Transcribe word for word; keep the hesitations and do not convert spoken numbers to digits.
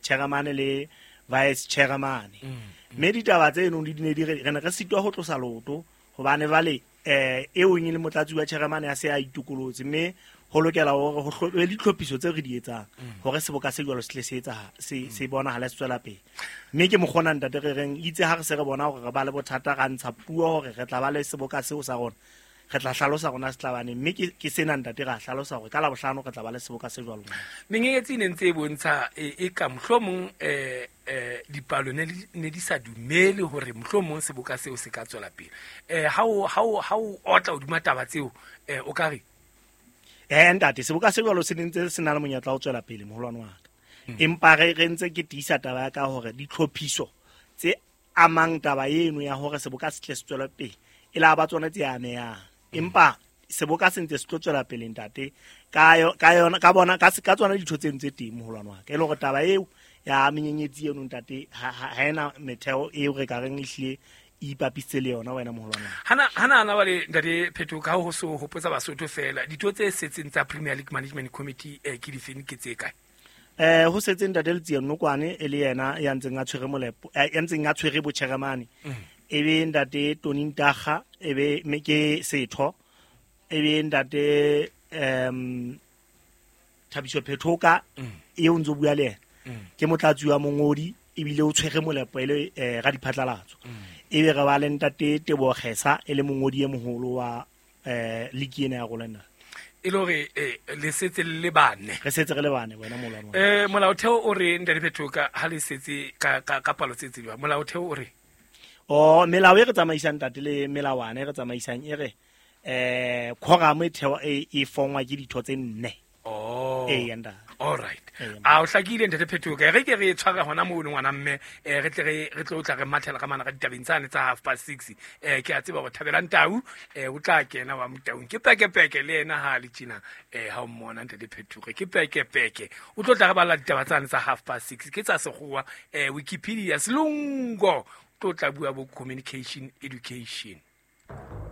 Chairman le vice chairman. Mme ditaba tseno di ne di re re ne re sitwa ho tlosa loto hobane jwale eh eo e le motlatsi wa chairman ya se a itokolotse, mme ho lokela hore ho hlo- le ditlhophiso tse re di etsang hore seboka se jwalo se tle se etsaha se se bonahala se tswela pele. Mme ke mokgona ntate re reng itse ha re se re bona hore re ba le bothata, ra ntsha puo hore re tla ba le seboka seo sa rona, re tla hlalosa rona se tla baneng. Mme ke ke sena ntate, ra hlalosa hore ka Labohlano re tla ba le seboka se jwalo. Menyenyetsi e ne ntse e bontsha e e ka mohlomong eh eh dipalo ne di- ne di sa dumele hore mohlomong seboka seo se ka tswela pele. eh ha o ha o ha o otla hodima taba tseo, eh o ka re? Eh ntate, seboka se jwalo se ne ntse se na le monyetla wa ho tswela pele, moholwane wa ka. Empa re re ntse ke tiisa taba ya ka hore ditlhophiso tse amang taba eno ya hore seboka se tle se tswele pele e la ba tsona tse amehang. Empa seboka se ntse se tlo tswela pele ntate, ka yo- ka yona ka bona ka se- ka tsona ditho tseno tse teng, moholwane wa ka. E le hore taba eo ya menyenyetsi eno ntate ha ha ha ena metheo eo re ka reng ehlile e ipapisitse le yona, wena moholwane wa ka. Hana hana hana wale ntate Phetho, ka ho so hopotsa Basotho fela, ditho tse setseng tsa Premier League Management Committee eh ke difeng, ke tse kae? Eh ho setse ntate Letsie Nokwane e le yena ya ntseng a tshwere molepo, eh, ya ntseng a tshwere botjheremane. E be ntate Tony Ntaga, e be me ke setho, e be ntate em Thabiso Phethoka eo ntso bua le yena, ke motlatsi wa mongodi ebile o tshwere molepo e le eh, radiphatlalatso. E be re ba le ntate Teboho Kgesa e le mongodi e moholo wa eh league ena ya rona. E le hore eh, le setse le le bane? Re setse re le bane, wena moholwane wa ka. eh molaotheo o re, ntate Phethoka, ha le setse ka ka ka palo tse tsejwang, molaotheo o re? O melao e re tsamaisang ntate le melawana e re tsamaisang e re eh quorum e thewa e e fongwa ke ditho tse nne. Oh. Ee, ntate. All right. Ee. A o hlakile, ntate Phethoka. Re ke re tshware hona mono, ngwana mme, eh re tle re re tlo tla re mathela ka mana ka ditabeng tsane tsa half past six. eh ke a tseba hore Thabelang Tau eh o tla kena wa Motaung, ke pekepeke le yena ha le tjena. eh ha o mmona ntate Phethoka ke pekepeke, o tlo tla re balla ditaba tsane tsa half past six, ke tsa sekgowa, eh Wikipedia selongo, tlo tla bua bo communication education.